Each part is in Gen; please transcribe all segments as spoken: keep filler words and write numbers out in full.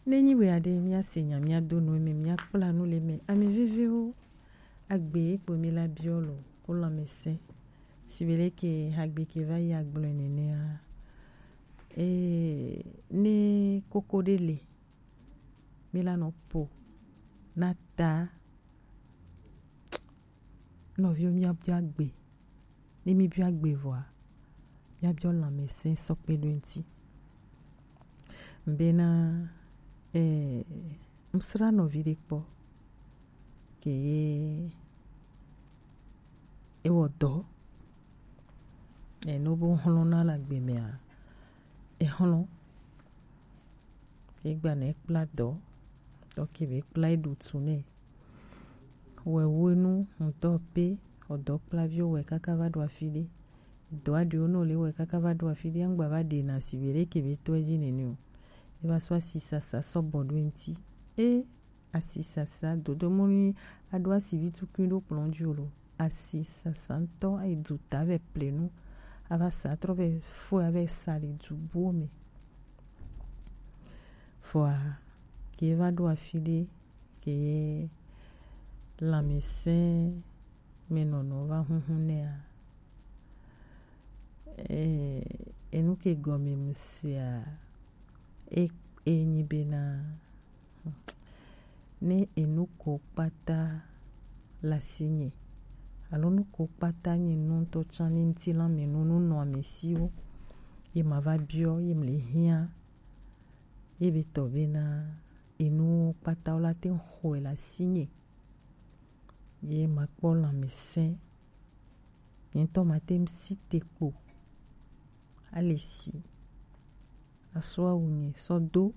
Ne nyi wɛ aɖe, míase nya, míado nu eme, míakpla nu le eme. Ame veviwo, agbe kpo mi la biɔ lo ko lãmesẽ. Sibe leke hagbe ke va yi agblɔe nenea, ee, ne koko ɖe le, mi la nɔ po na ta nɔviwo, míabiɔ agbe. Ne míbiɔ agbe vɔa, míabiɔ lãmesẽ sɔ kpe ɖo eŋuti. Bena, eh, ŋsra nɔvi ɖe kpɔ ke ye ewɔ dɔ, eh, no bo hlɔ̃ na le agbe mea, ehlɔ̃. Egba nɛ kpla dɔ, dɔ ke be kpla eɖu tu nɛ. Wɛ wo enu ŋutɔ pe, ɔdɔ kplaviwo wɛ kaka va ɖo afi ɖe. Dɔ aɖewo nɔ le wɛ kaka va ɖo afi ɖe, ŋgba va ɖe na si be ɖe ke be tɔ edzi nene o. E va sɔ asisasa sɔ bɔ ɖo eŋuti. E asisasa dodo mɔ ni aɖo asivi tukui ɖo kplɔ̃ dzi o lo. Asisasa ŋutɔ ayi du ta vɛ plenu. Ava sa trɔ vɛ fo ya vɛ sa le du buwo me. Vɔa, ke va ɖo afi ɖe, ke ye lãmesẽ me nɔnɔ va huhu nɛa, e, enu ke gɔme mu sea, e, e nyi bena, ne enu ko kpata le asinye, alo nu ko kpata nye nu ŋutɔ tsã, ne ŋutilã me nu, nu nɔ ame siwo, ye ma va biɔ, ye mle hiã, ye be tɔ bena, enuwo kpata wo la te ŋu xɔe le asinye. Ye ma kpɔ lãmesẽ. Nye ŋutɔ ma te ŋu si te kpo. Ale si. Asɔ awu nye sɔ do.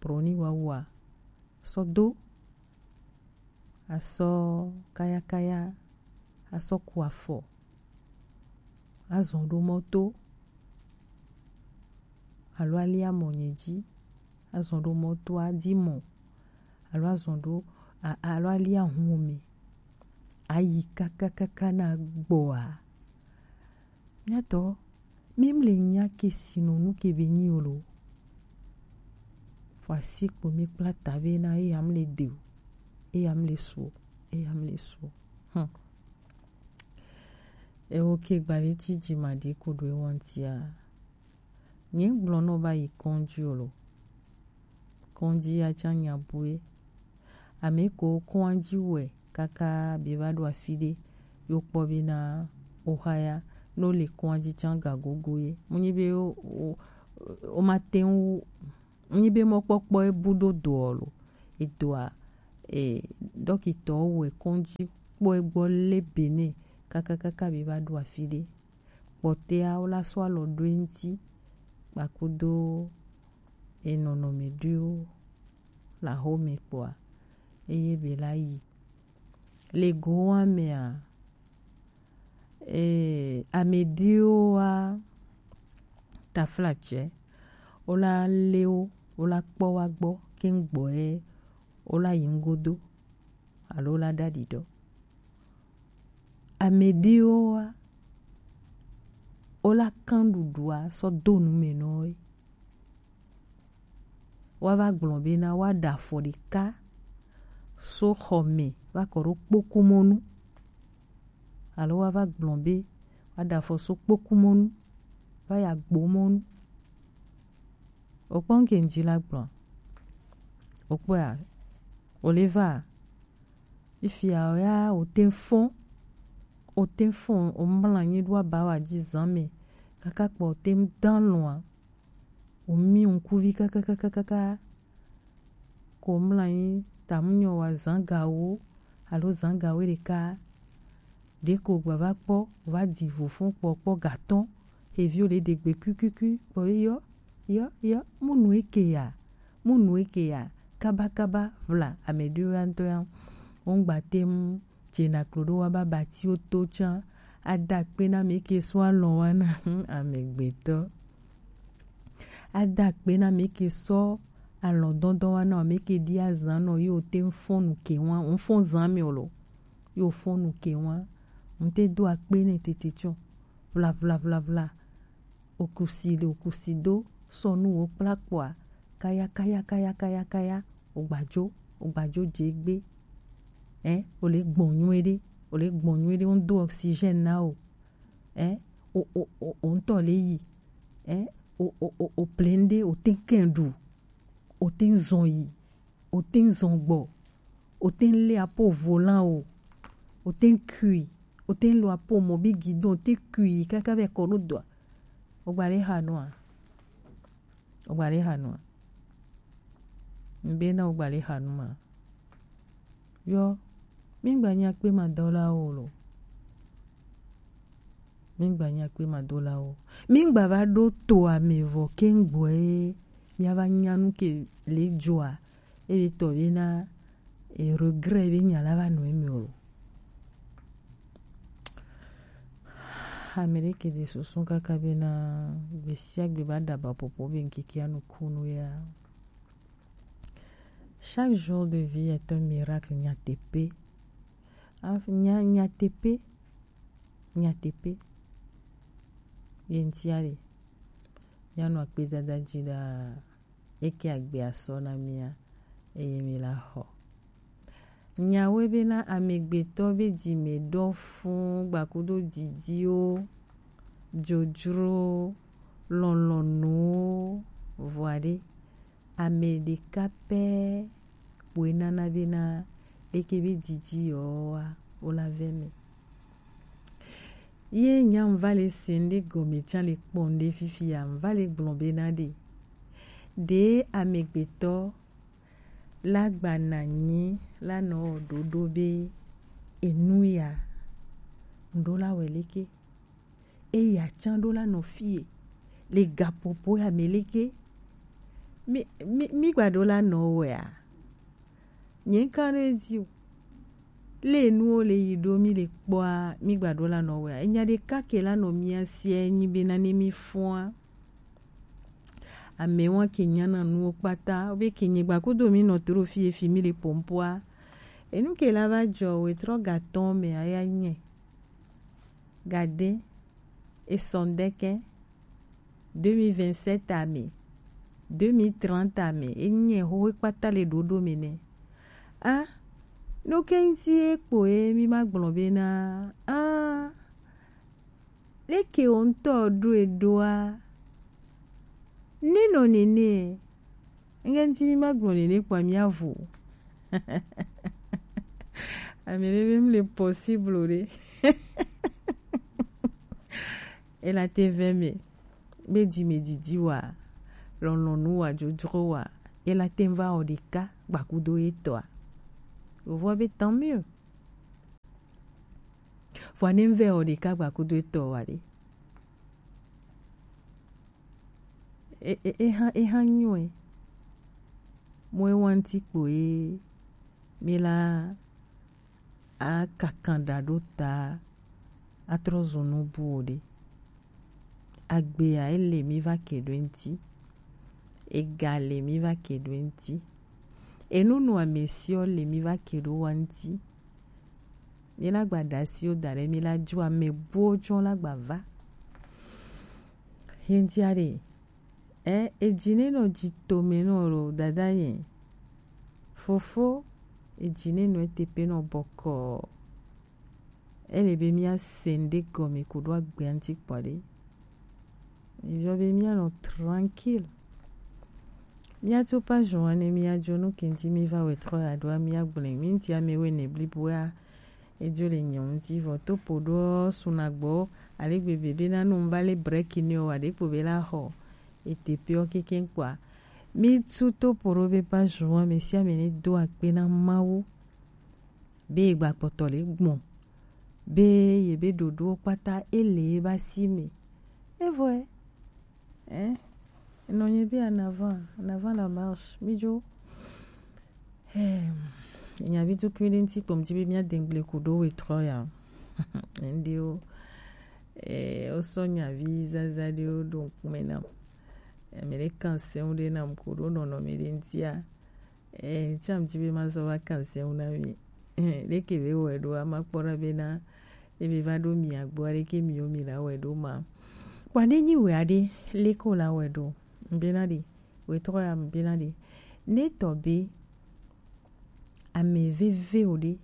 Broni wa wa. Sɔ do. Asɔ kayakaya. Asɔ ku afɔ. Azɔ ɖo mɔto. Alo ali amɔ nye dzi. Azɔ ɖo mɔto adi mɔ. Alo azɔ ɖo, a-, alo ali ahun me. Ayi kakakaka na gbɔa. Míatɔ, mi mle nya ke si nɔ nu ke be nyi o lo. Fɔ asi kpo mi kpla ta be na eya mle de o. Eya mle su o. Eya mle su o. Hmm. Ewo ke gba ɖe ci dzi ma ɖi ko ɖo ewa ŋutia. Nye gblɔ nɔ va yi kɔndzi o lo. Kɔndzi ya tsã nya bue. Ame ko kɔndzi wɛ kaka be va ɖo afi ɖe, yo kpɔ be na oha ya, no le kɔndzi tsã ga gogo ye. Mu nyi be o, o, o ma te ŋu, mu nyi be mɔkpɔkpɔ e bu ɖo doɔ lo. Edoa, e, dɔkitɔ wɛ kɔndzi kpɔ egbɔ le bene kaka kaka be va ɖo afi ɖe. Kpɔtɛa, wo la sɔ alɔ ɖo eŋuti, kpakudo enɔnɔme ɖoewo le axome kpɔa, eye be la yi. Le gowa mea, e, ame ɖewoa, taflatsɛ, wo la lé wo, wo la kpɔ wa gbɔ, ke ŋgbɔ ye, wo la yi ŋgodo, alo wo la ɖaɖi ɖɔ. Ame ɖewoa, wo la kan ɖuɖua sɔ do nu me nɔ wo. Wa va gblɔ be na wa ɖa afɔ ɖeka so xɔ me va kɔ ɖo kpokumɔnu. Alo wa va gblɔ be wa ɖa afɔ so kpokumɔnu va yi agbomɔnu. Okpɔ ŋke ŋdzi la gblɔ. Okpɔa, o le va. Fifia o ya, o te ŋu fɔn. O te ŋu fɔn, o mlɔ anyi ɖo abawa dzi zã me. Kaka kpɔ o te ŋu dã alɔa. O mi ŋkuvi kakakakaka. Ko mlɔ anyi, ta mu nyɔ wa zã gawo, alo zã gawo ɖeka. Ɖeko gba va kpɔ, va di vo fɔn kpɔ, kpɔ gatɔn. Xeviwo le ɖe gbe kuikui kpɔ ye yɔ, yɔ, yɔ, mu nu eke ya, mu nu eke ya, kaba, kaba, vla, ame ɖewo ya ŋutɔ ya, wo ŋgba te ŋu dze na klo ɖo wa ba bati wo to tsã. Ada akpe na ame ke sɔ alɔ wa na, amegbetɔ. Ada akpe na ame ke sɔ alɔ dɔdɔ wa na ame ke ɖi azã nɔ, yo te ŋu fɔn nu ke wa, ŋu fɔn zã me o lo. Yo fɔn nu ke wa. Ŋu te do akpe nɛ tete tsɔ. Vla, vla, vla, vla. Okusi le okusi do sɔ nu wo kpla kpɔa, kaya kaya kaya kaya kaya, o gba jo, o gba jo je gbe. Ɛ, o le gbɔn nyuie ɖe, o le gbɔn nyuie ɖe, o do oxygène na o. Ɛ, o o o o ŋutɔ le yi. Ɛ, o o o o plein ɖe, o te kɛn ɖu, o te zɔn yi, o te zɔn gbɔ, o te le apo volant o, o te kui, o te lo apo mɔ bi guidon, o te kui kaka vɛ kɔ ɖo dɔa. O gba le ha nua? O gba le ha nua? Ŋbe na o gba le ha nu ma. Yɔ, mi gba nya kpe ma dɔ la o lo. Mi gba nya kpe ma do la o. Mi gba va ɖo to ame vɔ ke ŋgbɔ e. Mi va nya nu ke le joa. E be tɔ be na e regret be nya la va nɔ emi o lo. Ame ɖe ke ɖe susu kaka be na gbe sia gbe ba ɖa ba popo be ŋkeke anu kunu ya. Chaque jour de vie est un miracle nyateƒe. Af- nya- nyateƒe, nyateƒe. Ye ŋutia ɖe, míanɔ akpedada dzi ɖaa. Eke agbe asɔ na mía, eye mi la xɔ. Nyawoe bena amegbetɔ be dzime ɖɔ fũ gbakudo didiwo, dzodzrowo, lɔlɔ̃nuwo, vɔa ɖe, ame ɖeka pɛ kpoe nana bena leke be didi yewoa, wo la vɛ me. Ye nya ŋva le se ŋɖe gɔme tsã le kpɔ ŋɖe fifi ya, ŋva le gblɔ bena ɖe, ɖe amegbetɔ la gba na nyi la nɔ ɖoɖo be enu ya ŋɖo la wɛ leke? Eya tsã ɖo la nɔ fie le gaƒoƒo ya me leke? Mi mi mi gba ɖo la nɔ wɛa? Nye ŋka ɖo edzi o. Le nuwo le yi ɖo mi le kpɔa, mi gba ɖo la nɔ wɛa? Enya ɖeka ke la nɔ mia sia nyi be nane mi fɔa. Amewo ke nyana nuwo kpata, wo be ke nyigba kudo mi nɔ to ɖo fi efi mi le pompoa. Enu ke la va dzɔ we trɔ gatɔn me aya nye. Gade, esɔndeke, deux mille vingt-sept ame, deux mille trente ame, enye ho kpata le ɖoɖo me ne. Ah, no ke ŋti ekpo e mi ma gblɔ be na, ah, leke wo ŋutɔ ɖo eɖoa? Ne nɔ nene, ŋke ŋti mi ma gblɔ nene kpɔa mi avo. Ame ɖe be mi le possible ɖe. Ela te vɛ me be dzi me didi wa, lɔlɔnu wa, dzodzro wa, ela te va o ɖeka gbakudo etɔa. Vɔ be tant mieux. Vɔa ne ŋvɛ o ɖeka gba kudo etɔ wa ɖe. E, e, eha, eha nyɔe. Mo ewa ŋti kpo ye mi la a kakan ɖa ɖo ta a trɔ zun nu bu o ɖe. Agbea ele mi va ke ɖo eŋti. Ega le mi va ke ɖo eŋti. Enu nu ame siɔ le mi va ke ɖo wa ŋti. Mi la gba ɖa siwo da ɖe mi la dzo ame buwo tsɔ la gba va. Ye ŋtia ɖe, e, edzi ne nɔ dzi tome nɔ lo dada ye. Fofo, edzi ne nɔ eteƒe nɔ bɔkɔ. Ele be mia se ŋɖe gɔme ko ɖo agbea ŋti kpɔ ɖe. Mizɔ be mia nɔ tranquille. Mia to pa joan ne mia jo nu kenti mi va wɛ trɔ ya ɖoa mia gblẽ. Mi ŋti ame wɛ ne blibo ya. Edzo le nyɔ ŋti vɔ to po ɖo suna gbɔ. Ale gbegbe be na nu va le break ne o wa ɖe kpo be la xɔ. Ete pe o keke kpɔa. Mi tu to po ɖo be pa joan me sia me ne do akpe na Mawu. Be gba kpɔtɔ le gbɔn. Be ye be ɖoɖowo kpata ele ye ba si me. Evɔe. Eh, enɔ nye be en avant, en avant la marche, mi dzo. Eh, nyavi tukui ɖe ŋti kpɔm dzi be mia de ŋgble ku ɖo we trɔ ya. Ndiwo. Eh, o sɔ nyavi zaza ɖewo ɖo ŋkume nam. Ame ɖe kan seŋ ɖe nam ku ɖo nɔnɔme ɖe ŋtia. Eh, tsam dzi be ma zɔ va kan seŋ na mi. Eh, ɖeke be wɔ ɖo ama kpɔ ɖa be na ebe va ɖo mi agbo aɖeke mi yo mi la wɛ ɖo ma. Kpɔ ne nyi wɛ aɖe leke wo la wɛ ɖo. Ŋbe na ɖe. Wetɔ ya mi bena ɖe. Ne tɔ be ame veve o ɖe,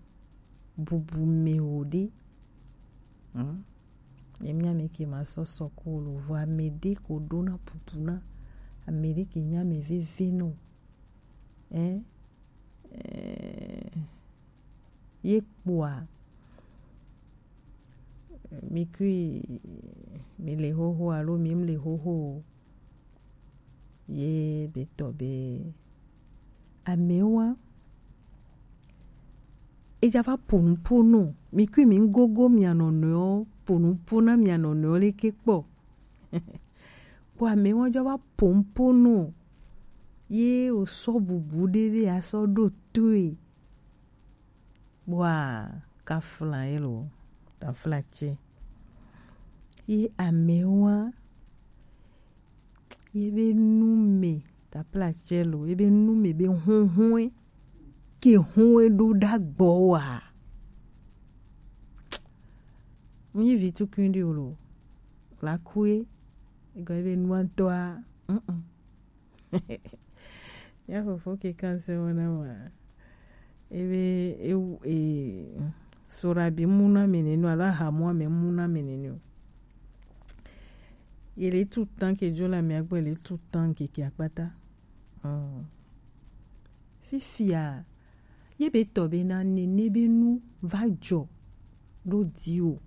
bubu me o ɖe. Hmm? Emi ame ke ma sɔ sɔ ko lo vo ame ɖe ko ɖo na bubu na. Ame ɖe ke nya ame veve no. Eh? Eh, ye kpoa, mi kui, mi le xoxo alo mi le xoxo o. Ye be tɔ be amewa. Eja va ponu ponu. Mi kui mi gogo mia nɔnɔewo, ponu pona mia nɔnɔewo le ke kpɔ. Kpɔ amewa jɔ va ponu ponu. Ye o sɔ bubu ɖe be a sɔ ɖo toe. Bua kafla ye lo, tafla tse. Ye amewa, ye be nu me, tafla tse lo, ye be nu me be huhue, ke hue ɖo ɖa gbɔ wa. Mu yi vi tukun ɖi o lo, la kue, ego ye be nua tɔa, mm-mm. Ya fofo ke kan se wona wa. Ebe e, e sora bi muna menenu alo ahamu ame muna menenu. Ye le tu tan ke jo la mi agbe le tu tan ke ke akpata. Hmm. Fifia ye be tɔ be na nene be nu va jɔ ɖo di o.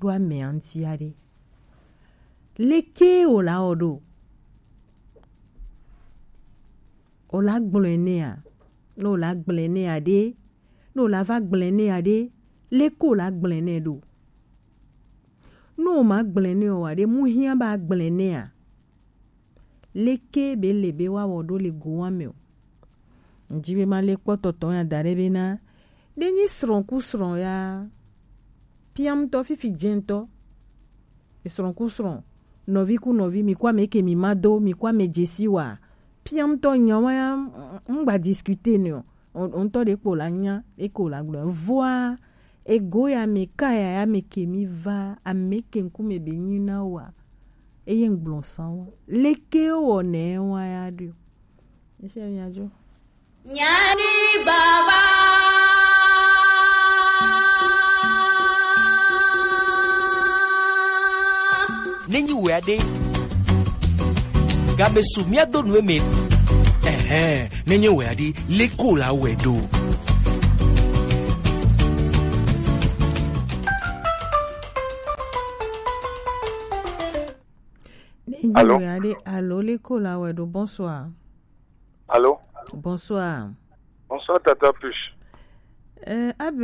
Ɖo ame aŋti aɖe. Leke o la wɔ ɖo? O la gblɔe nɛa? Ne o la gblɔe nɛa ɖe? Ne o la va gblɔe nɛa ɖe? Leke o la gblɔe nɛ ɖo? Ne o ma gblɔe nɛ o wa ɖe, mu hiã ba gblɔe nɛa? Leke be le be wa wɔ ɖo le go wa me o? Ŋdi be ma le kpɔ tɔtɔ ya da ɖe be na ɖe nyi srɔ̃ ku srɔ̃ ya. Piam tɔ fifi jɛntɔ. Esrɔ̃ ku srɔ̃, nɔvi ku nɔvi, mi ku ame ke mi ma do, mi ku ame dzesi wa. Piam tɔ nya wa ya, ŋgba discuter ne o. O ŋtɔ ɖe kpo la nya, e ko la gblɔ. Voa, ego ya me ka ya ya me ke mi va, ame ke ŋkume be nyi na wa. Eye ŋgblɔ san wa. Leke wɔ ne wa ya ɖo? Ese nya jo. Nyani baba. Nenyi wea ɖe. Gabe su mia do nu eme. Ɛhɛn, nenye wea ɖe, leko la wɛ ɖo. Nenye wea ɖe, alo leko la wɛ ɖo. Bonsoir. Allô? Bonsoir. Bonsoir, Tata Push. Euh, Abel,